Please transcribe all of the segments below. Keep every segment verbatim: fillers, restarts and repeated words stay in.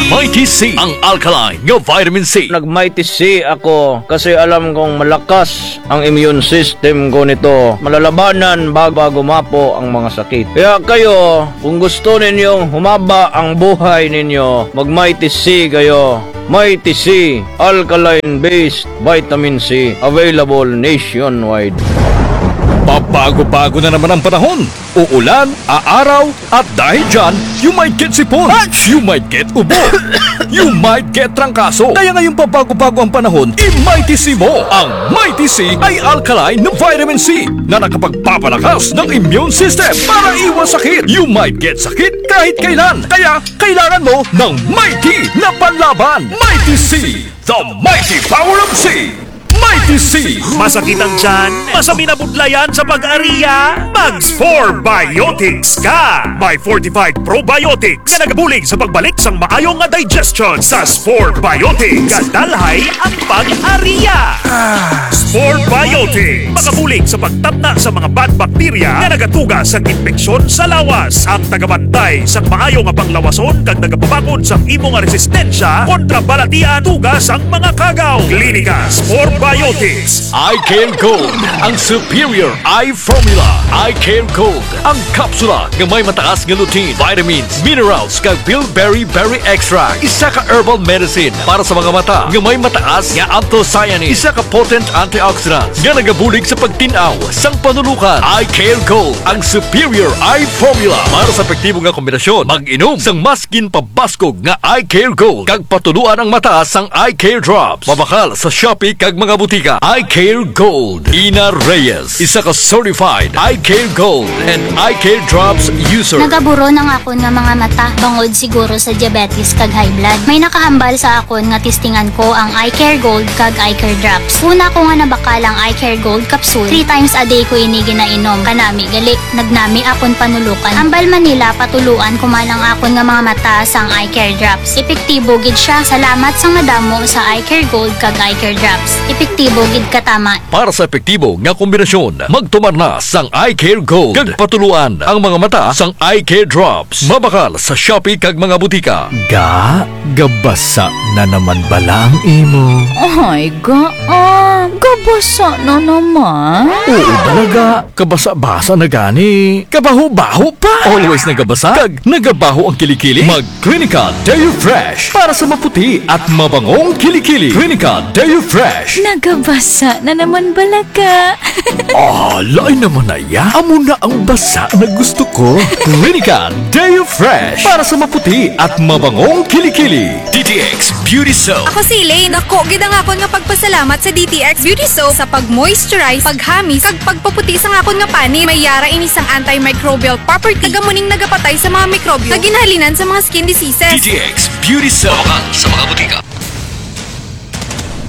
Mighty C, ang alkaline nga vitamin C. Nag-Mighty C ako kasi alam kong malakas ang immune system ko nito. Malalabanan bag-, bago mapo ang mga sakit. Kaya kayo, kung gusto ninyong humaba ang buhay ninyo, mag-Mighty C kayo. Mighty C, alkaline-based vitamin C, available nationwide. Pabago-bago na naman ang panahon. Uulan, aaraw, at dahil dyan, you might get sipon, you might get ubo, you might get trangkaso. Kaya ngayong pabago-bago ang panahon, i-Mighty C mo. Ang Mighty C ay alkaline na vitamin C na nakapagpapalakas ng immune system para iwas sakit. You might get sakit kahit kailan. Kaya kailangan mo ng Mighty na panlaban. Mighty C, the mighty power of C. Mighty C. Masakit ang tiyan? Masami na budlayan sa pag-ariya? Mag-Spore Biotics ka! May fortified probiotics nga nagabulig sa pagbalik sang maayo nga digestion sa Spore Biotics. Gadalhay ang pag-ariya. Spore Biotics. Makabulig sa pagtatna sa mga bad bacteria nga nagatuga sa impeksyon sa lawas. Ang tagabantay sang maayo nga panglawason kag nagapabakod sang imo nga resistensya kontra balatian tuga sang mga kagaw. Klinika Spore Biotics. Eye Care Gold, ang superior eye formula. Eye Care Gold, ang kapsula nga may mataas nga lutein, vitamins, minerals, kag bilberry berry extract. Isa ka herbal medicine para sa mga mata nga may mataas nga anthocyanins. Isa ka potent antioxidants nga nagabulig sa pagtin-aw sang panulukan. Eye Care Gold, ang superior eye formula para sa epektibo nga kombinasyon. Mag-inom sang mas ginpabaskog nga Eye Care Gold kag patuluan ang mata sang Eye Care Drops. Mabakal sa Shopee kag mga butika. Eye Care Gold. Ina Reyes, isa ka certified Eye Care Gold and Eye Care Drops user. Nagaburon ang akon nga mga mata bangod siguro sa diabetes kag high blood. May nakahambal sa akon nga testingan ko ang Eye Care Gold kag Eye Care Drops. Una ko nga nabakal ang Eye Care Gold capsule. Three times a day ko ini ginainom. Kanami gali, nagnami akon panulukan. Hambal man nila, patuluan ko man ang akon nga mga mata sang Eye Care Drops. Epektibo gid siya. Salamat sang madamo sa Eye Care Gold kag Eye Care Drops. Epektibo gid kataman. Para sa epektibo nga kombinasyon, magtumar na sang Eye Care Gold kag patuluan ang mga mata sang Eye Care Drops. Mabakal sa Shopee kag mga butika. Ga, gabasa na naman bala ang imo? Ay, ga, ah, gabasa na naman? Oo bala, ga. Kabasa-basa na gani. Kabaho-baho pa. Always nagabasa kag nagabaho ang kilikili. Mag Clinica Deo Fresh para sa maputi at mabangong kilikili. Clinica Deo Fresh. Nagabasa na naman bala ka? Ah, lain naman na ya. Amo na ang basa na gusto ko. Clinica Deo Fresh para sa maputi at mabangong kilikili. D T X Beauty Soap. Ako si Elaine. Dako gid ang akon nga pagpasalamat sa D T X Beauty Soap sa pag-moisturize, paghamis, kag pagpaputi sang akon nga panit. May yara ini sang antimicrobial property. Kag amo ning nagapatay sa mga mikrobyo nga ginahalinan sa mga skin diseases. D T X Beauty Soap. Mabakal sa mga butika.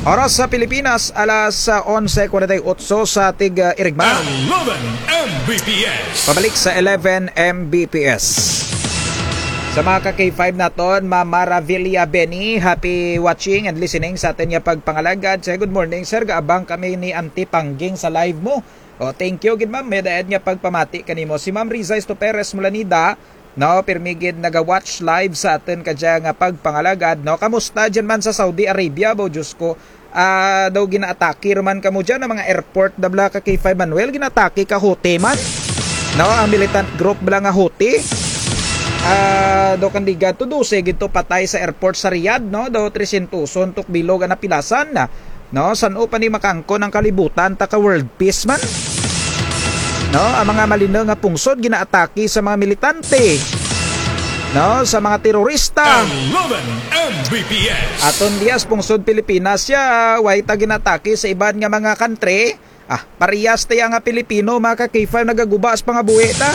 Oras sa Pilipinas, alas, ah, onse kwarenta y otso sa tig, ah, irigma. Eleven M B P S. Pabalik sa eleven M B P S. Sa mga ka-K five naton, Ma'am Maravilla Benny, happy watching and listening sa atun nga pagpangalagad. Say, "Good morning, sir. Gaabang kami ni Auntie Pangging sa live mo." O, thank you gid, ma'am. May daad nga pagpamati kanimo. Si Ma'am Riza Esto Perez Mulanida, no, pirmi gid naga-watch live sa atun kadya nga pagpangalagad, no? Kamusta dyan man sa Saudi Arabia, bo, Diyos ko? Ah, daw ginaatake ra man kamo dyan, ang mga airport, da bala ka K five Manuel, ginaatake ka Houthi man. No, ang militant group bala nga Houthi. Ah, daw kandigat to, dose gid to patay sa airport sa Riyadh, no? Daw tresyentoson to ka bilog ang napilasan. No, san-o pa ni makaangkon ang kalibutan ta ka world peace man? No, ang mga malinung nga pungsod ginaatake sa mga militante. No, sa mga terorista. Eleven M B P S. Aton dya sa pungsod Pilipinas ya, way ta ginaatake sa iban nga mga country. Ah, parehas ta ya nga Pilipino, mga ka-K five, nagaguba sa pangabuhi ta.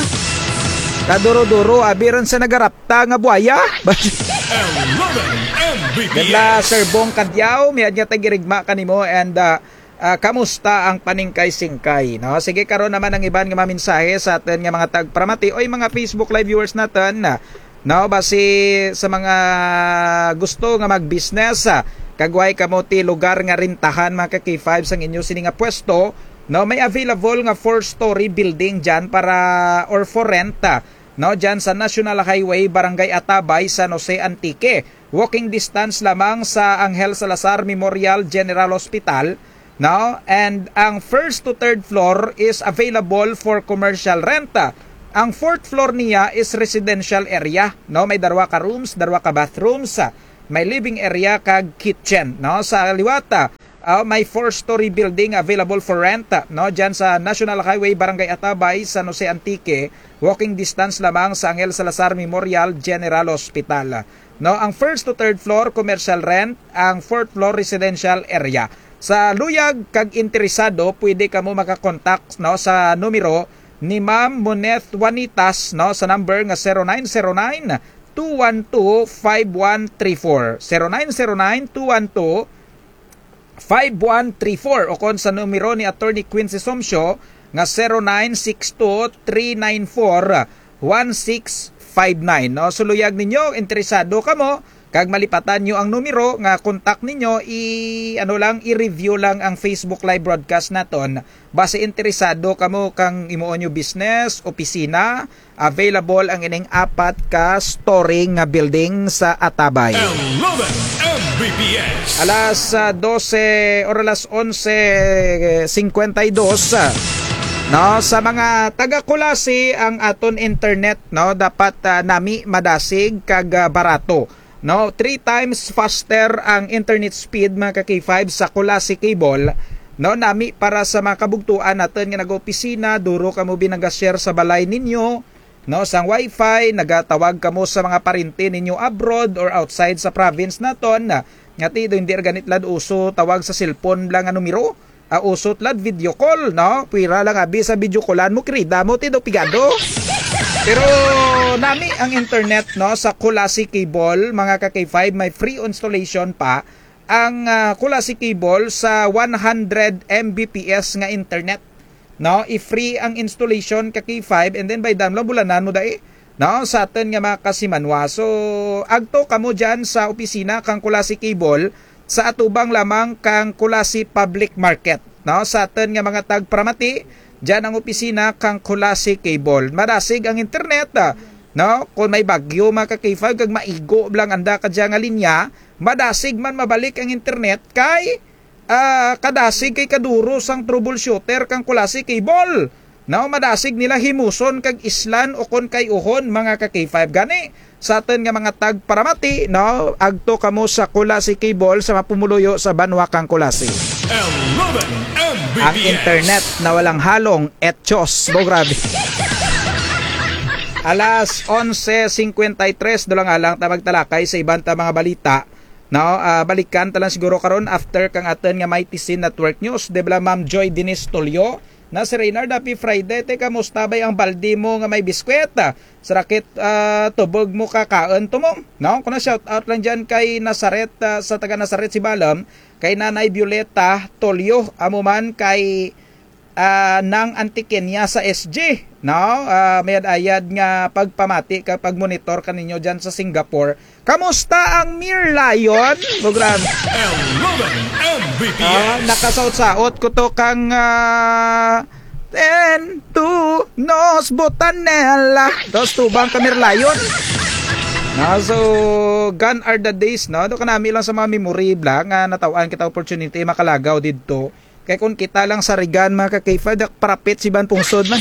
Kaduro-duro, abi run sa nagarapta nga buaya. Eleven M B P S. Ganda, Sir Bong Cadiao, may adya tag-irigma kanimo, and, ah, ah, kamusta ang paningkay-singkay, no? Sige, karon naman ang iban nga mga mensahe sa atun nga mga tagparamati. Oy, mga Facebook Live viewers natun, ah, no, basi sa mga gusto nga mag-business, ah, kag way kamo ti lugar nga rentahan, mga ka-K five, sang inyo sini nga pwesto, no, may available nga four-story building dyan para, or for rent, ah, no, dyan sa National Highway, Barangay Atabay, San Jose, Antique. Walking distance lamang sa Angel Salazar Memorial General Hospital, no? And ang first to third floor is available for commercial rent. Ang fourth floor niya is residential area, no? May darwa ka rooms, darwa ka bathrooms, may living area kag kitchen, no? Sa liwat, ah, may four-story building available for rent, no? Dyan sa National Highway, Barangay Atabay, San Jose, Antique. Walking distance lamang sa Angel Salazar Memorial General Hospital. No, ang first to third floor, commercial rent, ang fourth floor, residential area. Sa luyag kag interesado, pwede kamo makakontak, no, sa numero ni Ma'am Moneth Juanitas, no, sa number nga zero nine zero nine, two one two, five one three four. Zero nine zero nine, two one two, five one three four, o kon sa numero ni Attorney Quincy Somsyo nga zero nine six two, three nine four, one six five nine, no? So luyag ninyo, interesado kamo, kag malipatan nyo ang numero nga kontak ninyo, i-, ano lang, i-review lang ang Facebook Live broadcast naton. Basi interesado kamo kang imuon nyo business, opisina, available ang ining apat ka story nga building sa Atabay. Eleven M B P S. Alas, ah, dose or alas onse cincuenta y dos, ah. No, sa mga taga Culasi, ang aton internet, no, dapat, ah, nami, madasig kag, ah, barato. No, three times faster ang internet speed, mga ka-K five, sa Culasi Cable. No, nami para sa mga kabugtuan naton nga nag-opisina, duro kamo bi naga-share sa balay ninyo, no, sang wifi, nagatawag kamo sa mga parente ninyo abroad or outside sa province naton, nga ti do hindi ra gani tulad uso tawag sa cellphone lang nga numero. Ah, uso tulad video call, no? Pwera lang abi sa video callan mo, kirida mo, ti do pigado. Pero nami ang internet, no, sa Culasi Cable, mga ka-K five, may free installation pa ang, ah, Culasi Cable sa one hundred M B P S nga internet. No, i-free ang installation ka-K five, and then baydan mo lang, bulanan mo dai. No, sa atun nga mga kasimanwa. So, agto kamo dyan sa opisina kang Culasi Cable, sa atubang lamang kang Culasi Public Market. No, sa atun nga mga tagparamati, dyan ang opisina kang Culasi Cable. Madasig ang internet, ah, no, kon may bagyo, mga ka-K five, kag maigo lang anda kadya nga linya, madasig man mabalik ang internet kay ah, kadasig kay kaduro sang troubleshooter kang Culasi Cable. No, madasig nila himuson kag islan ukon kay-uhon, mga ka-K five. Gani, sa atun nga mga tagparamati, no, agto kamo sa Culasi Cable sa mapumuluyo sa banwa kang Culasi. Eleven M B P S. Ang internet na walang halong etchos. Bo, grabe. Alas onse cincuenta y tres, dulang alang ta magtalakay sa iban ta mga balita. No, ah, balikan ta lang siguro karon after kang atun nga Mighty Sin Network News. Di bala, Ma'am Joy Denise Tulio? Na si Reynard, happy Friday. Te, kamusta bay ang baldi mo nga may biskwit? Sa raket, ah, tubog mo kakaun, tumong. No, kuna shout out lang dyan kay Nazaret, ah, sa taga Nazaret, Sibalom, kay Nanay Violeta Tulio, amo man kay ah, Nang Antiqueña sa S G, no? Ah, mayad-ayad nga pagpamati kag pagmonitor kaninyo dyan sa Singapore. Kamusta ang Mirlion? Program. Eleven M B P S. Ah, nakasaot-saot ko to kang, ah, Ten to Nos Botanela. Dos tubang ka Mirlion. No, so, gone are the days, no? Do kanami lang sa mga memory bala nga nataw-an kita opportunity makalagaw didto. Kay kon kita lang sa Regan, mga ka-K five, dak parapit sa iban pungsod man.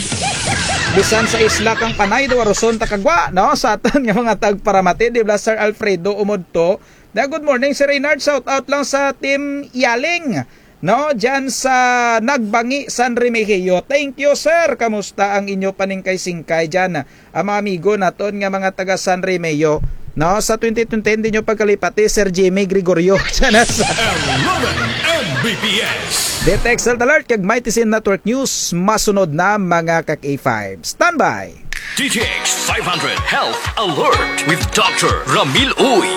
Bisan sa isla kang Panay, daw aruson ta kagwa, no? Sa atun nga mga tagparamati, di bala, Sir Alfredo umudto. Da, good morning, Sir Reynard. Shout out lang sa Team Yaling, no? Dyan sa Nagbangi, San Remigio. Thank you, sir. Kamusta ang inyo paningkay-singkay dyan? Ang mga amigo naton nga mga taga San Remigio, no? Sa twenty twenty, hindi nyo pagkalipati, Sir Jimmy Gregorio. Dyan na sa Eleven M B P S. Detect Health Alert kag Mighty Sin Network News. Masunod na, mga ka-K five. Standby! D T X five hundred Health Alert with Doctor Ramil Uy.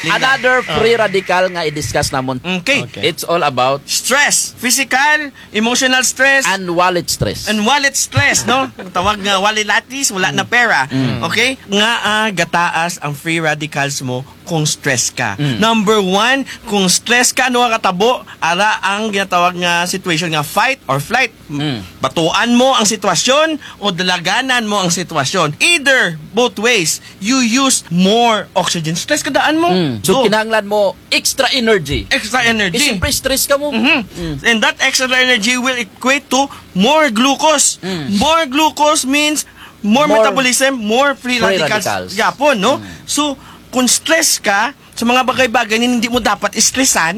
Another free radical nga i-discuss namon. Okay. Okay. It's all about stress, physical, emotional stress, and wallet stress. And wallet stress, no? Ang tawag nga wallet latis, wala na pera. Mm. Okay? Nga, ah, gataas ang free radicals mo kung stress ka. Mm. Number one, kung stress ka, ano ang katabo? Ara ang ginatawag nga situation nga fight or flight. Mm. Batuan mo ang sitwasyon o dalaganan mo ang sitwasyon. Either, both ways, you use more oxygen. Stress ka daan mo. Mm. So, kinahanglan mo extra energy. Extra energy. Eh, siyempre, stress ka mo. Mhm. Mm. And that extra energy will equate to more glucose. Mm. More glucose means more metabolism, more free radicals. Free radicals. Gihapon, no? Mm. So, kung stress ka, sa mga bagay-bagay na hindi mo dapat stressan,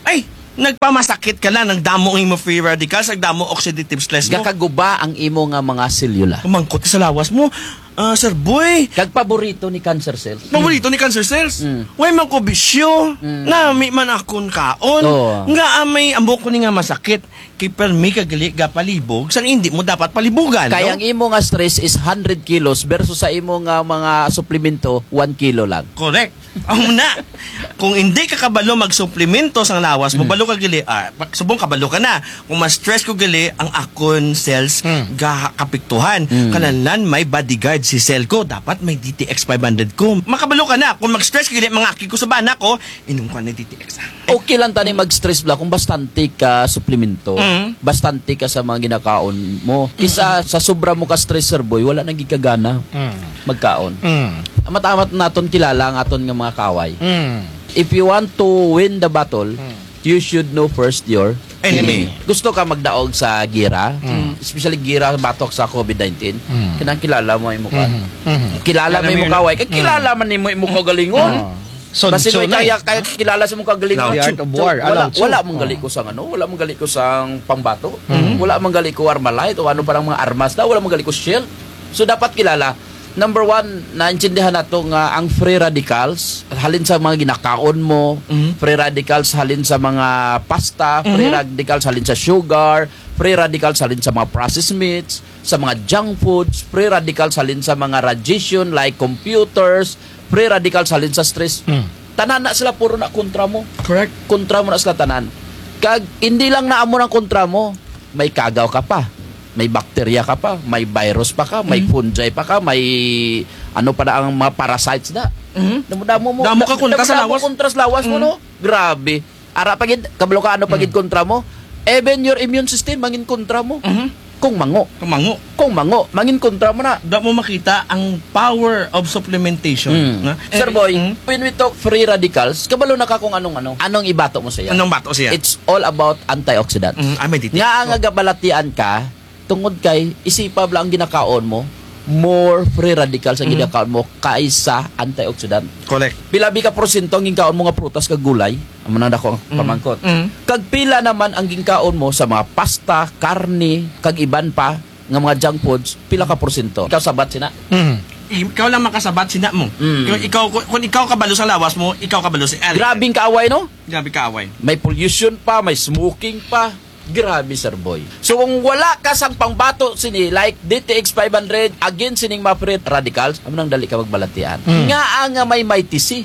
ay, nagpamasakit ka na, nagdamo ang imo free radicals, nagdamo oxidative stress mo. Gakaguba ang imo nga mga selula. Kumangkot sa lawas mo, ah, Sir Boy. Kag paborito ni cancer cells. Paborito ni cancer cells. Mm. Way man ko bisyo, nami man akon kaon. Oo. Nga, ah, may ambok ko ni nga masakit. Kay permi ka gali gapalibog, sang hindi mo dapat palibugan, no? Kay ang imo nga stress is hundred kilos versus sa imo nga mga suplemento, one kilo lang. Correct. Amo na. Kung hindi ka kabalo magsuplemento sang lawas mo, balo ka gali, ah, pa-, subong kabalo ka na. Kung ma-stress ko gali, ang akon cells ga-, kaapektuhan. Kinahanglan may bodyguard si cell ko. Dapat may D T X five hundred ko. Makabalo ka na. Kung mag-stress gali, mangaki ko sa bana ko, inom ko na D T X. Okay lang tani mag-stress bala kung bastante ka suplemento, bastante ka sa mga ginakaon mo. Kisa sa sobra mo ka stress, Sir Boy, wala na gid ka gana magkaon. Amat-amat naton kilala ang aton nga mga kaaway. If you want to win the battle, you should know first your enemy. Gusto ka magdaog sa gira, especially gira batok sa COVID nineteen, kinahanglan kilala mo imo ka. Kilala mo imo kaaway, kay kilala man nimo imo kaugalingon. Basin ikaw, kaya, kaya kilala sa imong kaugalingon. The art of war. Wala, wala man gali ko sang ano, wala man gali ko sang pambato. Wala man gali ko Armalite o ano pa ang mga armas na, wala man gali ko shield. So, dapat kilala. Number one, naintindihan nato nga ang free radicals, halin sa mga ginakaon mo, free radicals halin sa mga pasta, free radicals halin sa sugar, free radicals halin sa mga processed meats, sa mga junk foods, free radicals halin sa mga radiation like computers, free radicals halin sa stress. Tanan na sila puro na kontra mo. Correct. Kontra mo na sila tanan. Kag hindi lang na amo ang kontra mo, may kagaw ka pa, may bakterya ka pa, may virus pa ka, may fungi pa ka, may ano pa na ang mga parasites na. Damo-damo mo. Damo ka kontra sa lawas. Damo-damo kontra sa lawas mo, no? Grabe. Ara pa gid, kabalo ka ano pa gid kontra mo. Even your immune system, mangin kontra mo. Kung mango. Kung mango. Kung mango, mangin kontra mo na. Damo makita ang power of supplementation, no? Sir Boy, when we talk free radicals, kabalo na ka kung anong ano. Anong ibato mo sa iya? Anong bato siya? It's all about antioxidants. Nga ang gabalatian ka, tungod kay isipa bala ang ginakaon mo, more free radicals ang ginakaon mo kaysa antioxidant. Correct. Pila bi ka porsyento ang ginkaon mo nga prutas kag gulay? Amo nang dako ang pamangkot. Kag pila naman ang ginkaon mo sa mga pasta, karne, kag iban pa nga mga junk foods, pila ka porsyento? Ikaw sabat sina. Ikaw lang makasabat sina mo. Kung ikaw, kung, kung ikaw kabalo sa lawas mo, ikaw kabalo si Eric. Grabing kaaway, no? Grabe kaaway. May pollution pa, may smoking pa. Grabe, Sir Boy. So, kung wala ka sang pangbato sini, like D T X five hundred, against sining mga free radicals, amo nang dali ka magbalatian. Nga ang may Mighty C,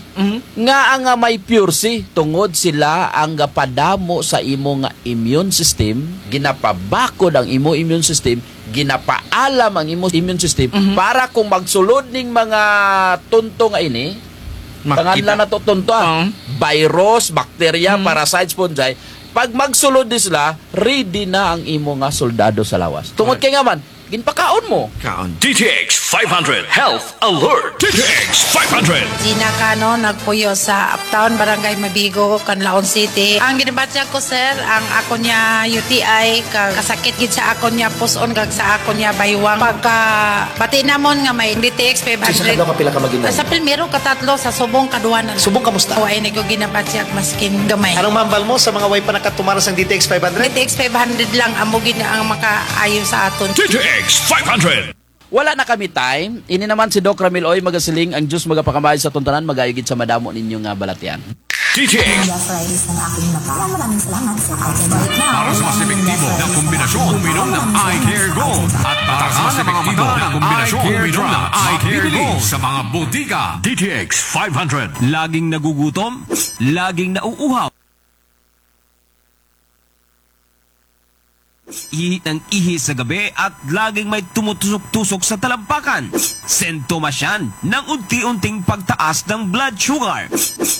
nga ang may Pure C, tungod sila ang gapadamo sa imo nga immune system, ginapabakod ang imo immune system, ginapaalam ang imo immune system, para kung magsulod ning mga tunto nga ini, panganlan nato tunto, ah. Virus, bakterya, parasites, fungi, pag magsulod ni sila, ready na ang imo nga soldado sa lawas. Tungod kay nga man, ginpakaon mo. Kaon. D T X five hundred Health Alert. D T X five hundred. Gina Cano, nagpuyo sa Uptown, Barangay Mabigo, Canlaon City. Ang ginabatyag ko, sir, ang akon nga U T I, ka-, kasakit gid sa akon nga pus-on, kag sa akon nga baywang. Pagkabati namon nga may D T X five hundred. Sa kadlaw, kapila ka mag-inom? Sa primero, katatlo, sa subong, kaduha na. Subong, kamusta? Wa, ay, nagko ginabatyag, maskin gamay. Anong mahambal mo sa mga way pa nakatumar sang D T X five hundred? D T X five hundred lang, amo gid ang makaayo sa aton. D T X five hundred. Wala na kami time. Ini naman si Doc Ramil Oy magasiling, ang Diyos magapakamay sa aton tanan, mag-ayo gid sa madamo ninyo nga balatian. D T X. Media Fridays ng aking mata. Maraming salamat sa ating Para sa mas epektibo na kombinasyon, uminom ng Eye Care Gold. At para sa mas epektibo na kombinasyon, uminom ng Eye Care Gold sa mga botika. D T X five hundred. Laging nagugutom? Laging nauuhaw? Ihi ng ihi sa gabi at laging may tumutusok-tusok sa talampakan. Sintomas yan ng unti-unting pagtaas ng blood sugar.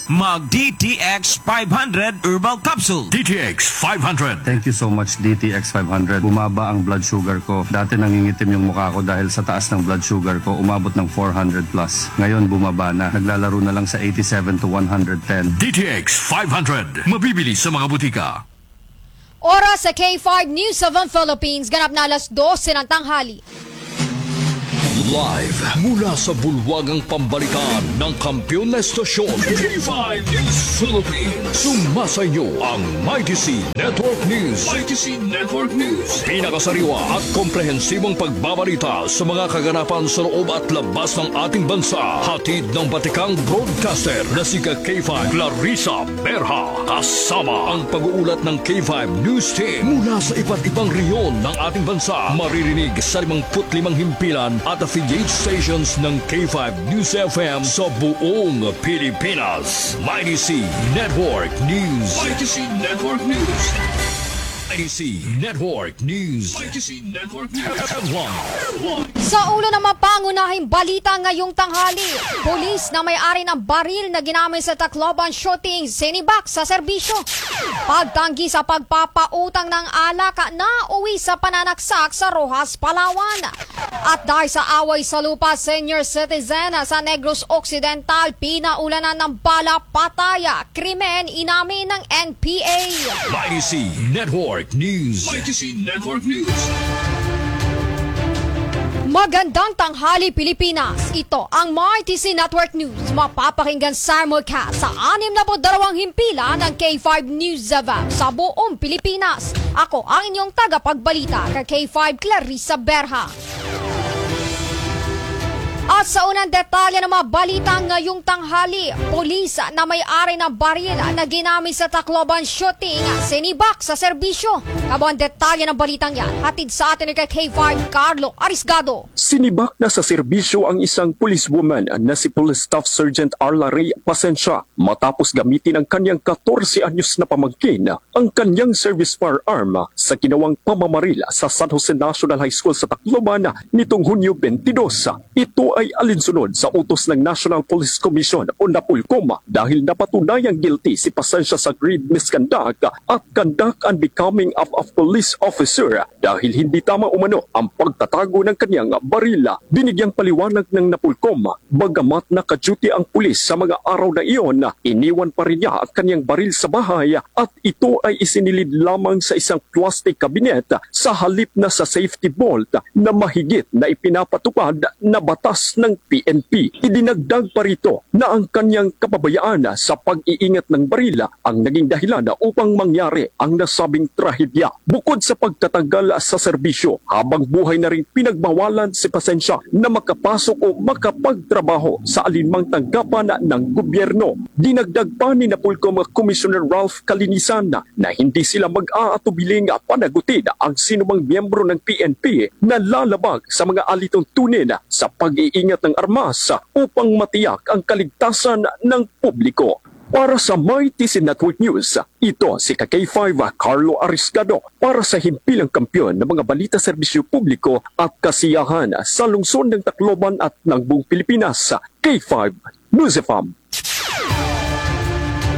Mag D T X five hundred Herbal Capsule. D T X five hundred. Thank you so much, D T X five hundred. Bumaba ang blood sugar ko. Dati nangingitim yung mukha ko dahil sa taas ng blood sugar ko. Umabot ng four hundred plus. Ngayon, bumaba na. Naglalaro na lang sa eighty-seven to one hundred ten. D T X five hundred. Mabibili sa mga butika. Oras sa K five News seven Philippines, ganap na alas dose ng tanghali. Live mula sa bulwagang pambalitaan ng kampiyon na estasyon, K five News Philippines. Sumasa inyo ang Mighty C Network News. Mighty C Network News. Pinakasariwa at komprehensibong pagbabalita sa mga kaganapan sa loob at labas ng ating bansa. Hatid ng batikang broadcaster na si K five Clarissa Berha. Kasama ang pag-uulat ng K five News Team mula sa iba't ibang rehiyon ng ating bansa. Maririnig sa limangput limang himpilan at affiliate stations ng K five News F M sa buong Pilipinas. Mighty C Network News. Mighty C Network News. Mighty C Network News. Mighty C Network News. Headline. Sa ulo ng mga pangunahing balita ngayong tanghali, pulis na may-ari ng baril na ginamit sa Tacloban shooting, sinibak sa serbisyo. Pagtanggi sa pagpapautang ng alak, nauwi sa pananaksak sa Roxas, Palawan. At dahil sa away sa lupa, senior citizen sa Negros Occidental, pinaulanan ng bala, patay, krimen, inamin ng N P A. Mighty C Network News. Mighty C Network News. Magandang tanghali, Pilipinas. Ito ang Mighty C Network News. Mapapakinggan simulcast sa anim na put dalawang himpilan ng K five News F M sa buong Pilipinas. Ako ang inyong tagapagbalita, ka K five Clarissa Berha. At sa unang detalye ng mga balita ngayong tanghali, pulis na may-ari ng baril na ginamit sa Tacloban shooting, sinibak sa serbisyo. Kabuang detalye ng balitang yan, hatid sa atin ni K five Carlo Arisgado. Sinibak na sa serbisyo ang isang policewoman na si Police Staff Sergeant Arla Ray Pasensia matapos gamitin ng kanyang katorse anyos na pamangkin ang kanyang service firearm sa ginawang pamamaril sa San Jose National High School sa Tacloban nitong Hunyo twenty-two. Ito ay alinsunod sa utos ng National Police Commission o NAPOLCOM dahil napatunayang guilty si Pasensia sa grave misconduct at conduct unbecoming of a police officer dahil hindi tama umano ang pagtatago ng kanyang baril. Binigyang paliwanag ng NAPOLCOM, bagamat naka-duty ang pulis sa mga araw na iyon, iniwan pa rin niya ang kanyang baril sa bahay at ito ay isinilid lamang sa isang plastic cabinet sa halip na sa safety vault na mahigit na ipinapatupad na batas ng P N P. Idinagdag pa rito na ang kanyang kapabayaan sa pag-iingat ng baril ang naging dahilan upang mangyari ang nasabing trahedya. Bukod sa pagtatanggal sa serbisyo, habang buhay na ring pinagbawalan si Pasensia na makapasok o makapagtrabaho sa alinmang tanggapan ng gobyerno. Dinagdag pa ni NAPOLCOM Commissioner Ralph Calinisan na hindi sila mag-aatubiling panagutin ang sinumang miyembro ng P N P na lalabag sa mga alituntunin sa pag-iingat ng armas upang matiyak ang kaligtasan ng publiko. Para sa Mighty C Network News, ito si ka K five Carlo Arisgado para sa Himpilang Kampiyon ng mga balita, serbisyo publiko at kasiyahan sa lungsod ng Tacloban at ng buong Pilipinas, K five News F M.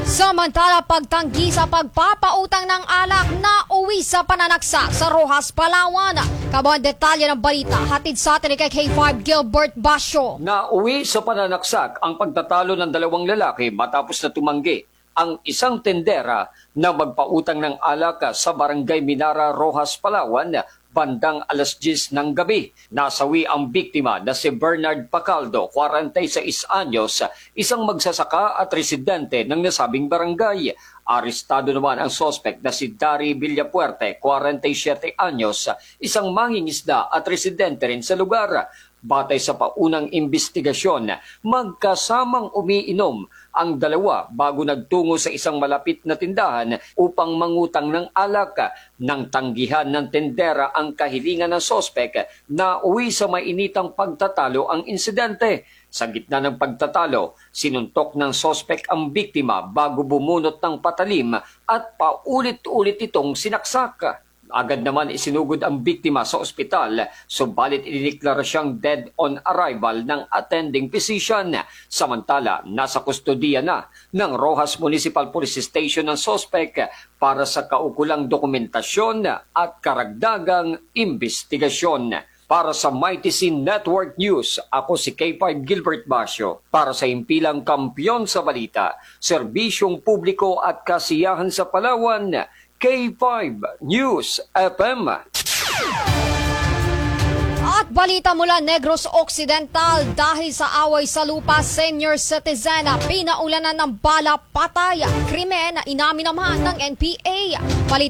Samantala, pagtanggi sa pagpapautang ng alak, nauwi sa pananaksak sa Roxas, Palawan. Kabuang detalye ng balita, hatid sa atin ni K five Gilbert Basyo. Nauwi sa pananaksak ang pagtatalo ng dalawang lalaki matapos na tumanggi ang isang tendera na magpautang ng alak sa Barangay Minara, Roxas, Palawan, bandang alas diyes ng gabi. Nasawi ang biktima na si Bernard Pacaldo, kwarenta y seis anyos, isang magsasaka at residente ng nasabing barangay. Arestado naman ang suspek na si Dari Villafuerte, kwarenta y siyete anyos, isang mangingisda at residente rin sa lugar. Batay sa paunang imbestigasyon, magkasamang umiinom ang dalawa bago nagtungo sa isang malapit na tindahan upang mangutang ng alak. Nang tanggihan ng tindera ang kahilingan ng suspek, nauwi sa mainitang pagtatalo ang insidente. Sa gitna ng pagtatalo, sinuntok ng suspek ang biktima bago bumunot ng patalim at paulit-ulit itong sinaksak. Agad naman isinugod ang biktima sa ospital, subalit idineklara siyang dead on arrival ng attending physician. Samantala, nasa kustodiya na ng Roxas Municipal Police Station ang suspek para sa kaukulang dokumentasyon at karagdagang imbestigasyon. Para sa Mighty C Network News, ako si K five Gilbert Basio. Para sa Himpilang Kampiyon sa Balita, Serbisyong Publiko at Kasiyahan sa Palawan, K five News F M. At balita mula Negros Occidental, dahil sa away sa lupa, senior citizen, pinaulanan ng bala, patay. Krimen, inamin naman ng N P A. Balita